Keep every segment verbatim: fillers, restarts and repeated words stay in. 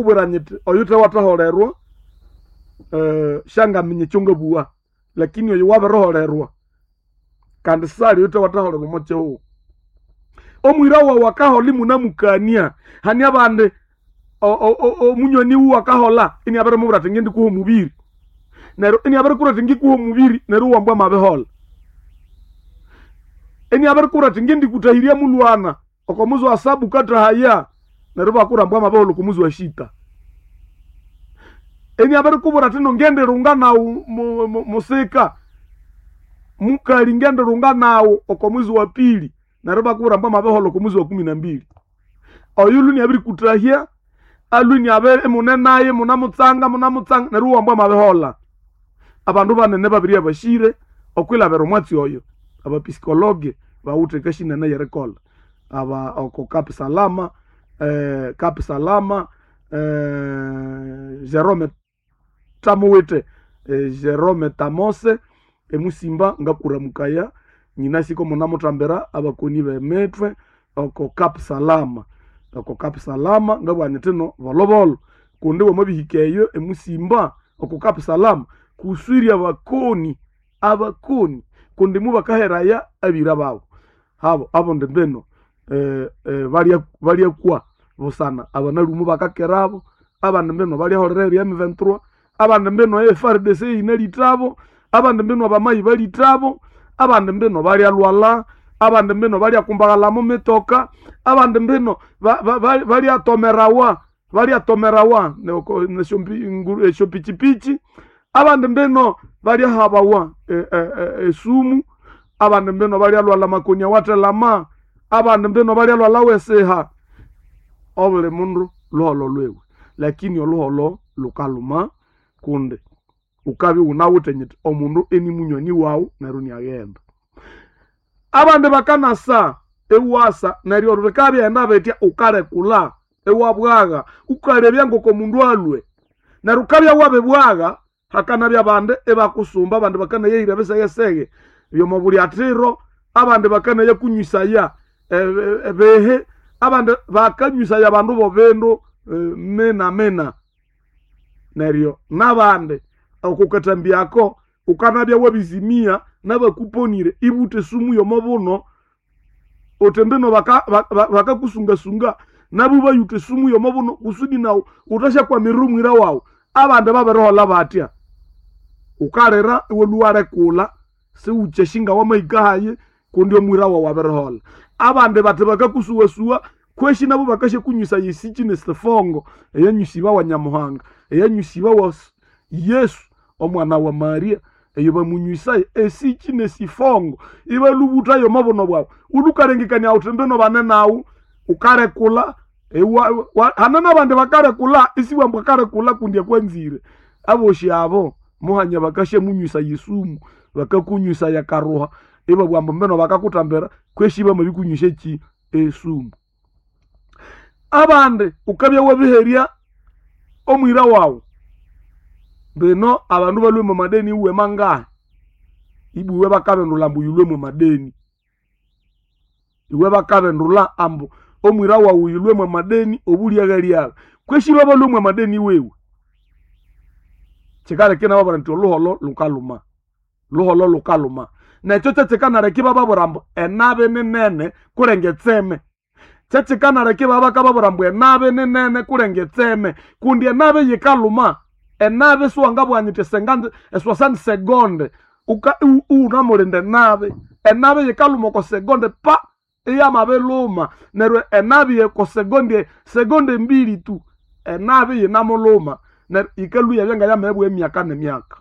Ngakubwira nyiti oyu wathaholerwa eh, syangaminya ekyongabugha, lakini oyu wabiriholerwa kandi sali oyuthe wathaholerwa omo kihugho. Omwira wawu akaholha imunamukania, hane abandi omunywani wuwe akaholha iniabirimubwira athi ngindikuha omubiri, neryo iniabirikubwira athi ngikuha omubiri neryo iwambwa amabiholha. Iniabirikubwira athi ngindikutahirya mulwana oko muzi wa saba wukathahaya, neryo ibakubwira ambu amabiholha oko muzi wa sita. Iniabirikubwira athi ino ngendirunga naghu musika, mukali ngendirunga naghu oko mwezi wa pili, neryo ibakubwira ambu amabiholha oko mwezi wa kumi na mbili. Oyu lwe iniabirikutahya, alwe iniabiri imune naye imunamutsanga munamutsanga neryo iwambwa amabiholha. Abandu banene babiribya bashire okwilhabira omwatsi oyo, abapisikologe bawithe ekasi nene eyerikolha. Aba oko Cap Salama, eh, Cap Salama, eh, Jerome Tamuwithe, eh, Jerome Tamose emusimba ngakuramukaya nyinasi komunamuthambira abakoni b'emithwe oko Cap Salama, oko Cap Salama ngabugha nyithi ino bolobolo kundi wamabihika eyo emusimba oko Cap Salama kuswiri abakoni, abakoni kundi mubakaheraya abira babo. Habo abondi mbinu eh, eh, balya balyakwa busana abanalhumu bakakerabo, abandi mbinu balyaholera erya M twenty-three, abandi mbinu e F A R D C yinalithabo, abandi mbinu abamayi balithabo, abandi mbinu balyalwala, abandi mbinu balyakumbaghala mu mitoka, abandi mbinu balyatomerawa, balyatomerawa esyopichipichi, abandi mbinu balyahabawa esumu, abandi mbinu balyalwala makoni awathelama, abandi mbinu balyalwala wesiha. Obuli mundu luholho lwiwe, lakini oluholho lukalhuma kundi wukabya iwunawithe nyiti omundu ini munywani wawu neryo iniaghenda. Abandi bakanasa iwasa neryo bikabya bitya wukalekula iwabwagha wukalebya ngoko mundu alwe, neryo wukabya wabibwagha hakanabya abandi ibakusumba, abandi bakanayahira ebisegesege byomwa bulyathiro, abandi bakanayakunywesaya ebihi, abandi bakanywesaya abandu b'ebindu mina mina. Neryo n'abandi okukathambyako wukanabya wabizimia n'abakuponire ibutha esumu y'omo buno, uthi mbino bakakusungasunga nabo bayutha esumu y'omo buno kusudi nawu wuthasyakwamira omwira wawu. Abandi babiriholha batya, wukalira iwalhwa iwalekula siwukyashinga wamahika hayi kundi omwira wawu abiriholha. Abandi bathi bakakusuwasuwa kweshi nabo bakasyakunywesaya esiki nesifongo eyanywesibawa Nyamuhanga, eyanywesibawa Yesu omwana wa Maria, eyo bamunywesaya esiki nesifongo ibalhubuthayo omo buno bwawu. Wulhukalengekania wuthi mbino bane nawu wukalekula hane n'abandi bakalekula isiwambu akalekula kundi akwanzire. Abosi abo muhanya bakasyamunywesaya esumu, bakakunywesaya akaruha ibabugha ambu mbino bakakuthambira kweshi bamabirikunywesya eki esumu. Abandi wukabya wabiherya omwira wawu, mbino abandu balhwe mwa madeni iwe mangahi, ibwa iwe bakabindulha ambu yilhwe mwa madeni, iwe bakabindulha ambu omwira wawu yilhwe mwa madeni obulyaghalyagha, kweshi babalhwe mwa madeni wewe. Kyikaleka inababwira nti oluholho lukalhuma, luholho lukalhuma. Nekyo kyekikanaleka ibababwira ambu enabi ninene kulenga etseme. Kyekikanaleka ibabakababwira ambu enabi ninene kulenga etseme, kundi enabi yikalhuma. Enabi siwangabugha nyiti eswasani segonde iwunamulinda enabi. Enabi yikalhuma oko segonde pa iyamabilhuma, neryo enabi oko segonde, segonde mbili tu enabi yinamulhuma, neryo yikalhwa iyabya ngayamabya emyaka n'emyaka.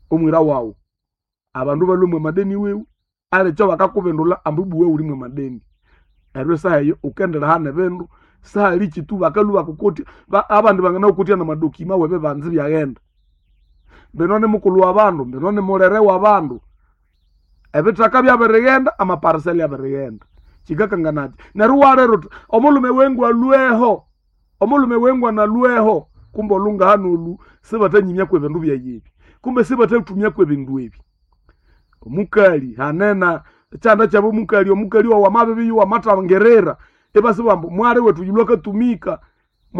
Omwira wawu abandu balhwe mwa madeni wiwe, alikyo bakakubindulha ambu ibwa iwe wuli mwa madeni. Neryo esaha eyo wukendilhaha n'ebindu, sihali kitu bakalhwa bakukotya, abandi banganakukotya n'amadokima w'ebibanza ibyaghenda. Mbino ni mukulhu w'abandu, mbino ni mulere w'abandu, ebithaka byabirighenda, amapariseli abirighenda. Kikakanganakyi? Neryo iwalira uthi omulhume wengu alhweho, omulhume wengu analhweho, kumbe olhungaha nolhu sibathanyimyaku ebindu byayi ebi, kumbe sibathathumyaku ebindu ebi. Omukali hanena ekyanda kyabo omukali, omukali wawu amabibiya iwamatangirira, ibasibugha ambu mwali wethu yulhwe akatumika.